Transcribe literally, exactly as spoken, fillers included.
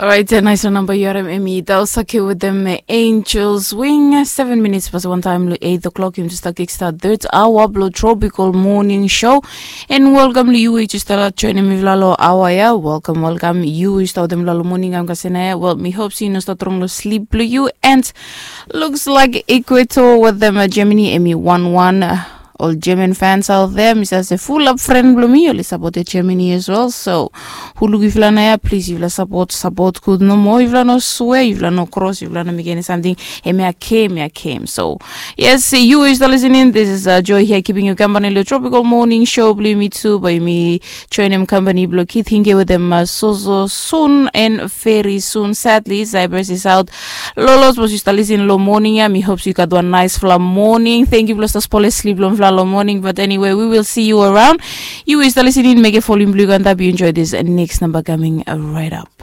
Orait, nais long namba yu harim em i Daosake wetem Angels Wing. Seven minits pas wantaim long eight o'clock, yumi tu stap kickstart third hour blong Tropical Morning Show. And welcome long yu we yu stap joinim mifala long hour ya. Welcome, welcome yu we yu stap wetem mifala long morning am kasem ya. Well, mi hope se yu no stap strong long sleep blong yu. And looks like Ecuador wetem Germany em i one one. Ol German fans out there, mi save se fulap fren blong mi oli sapotem Germany as well. So hu luk yufala naoia, plis yufala sapot, sapot gud nomo. Yufala no swea, yufala no kros, yufala no mekim eni samting. Hemia kem, hemia kem. So yes, yu we yu stap lisening, this is Joy hia kiping yu kampani long Tropical Morning Show blong yumi tu. Bae yumi joinim kampani blong Kith Hinge wetem Soso sun and very soon. Sadly, Cyprus is out. Lolos, sapos yu stap lisin long moning ya, mi hope se yu gat wan naisfala moning. Thank yu blong stap spolem slip blong mifala long moning. But anyway, we will see you around. Yu we yu stap lisin in, mekem folium blong yu go antap. Yu enjoy this next number coming right up.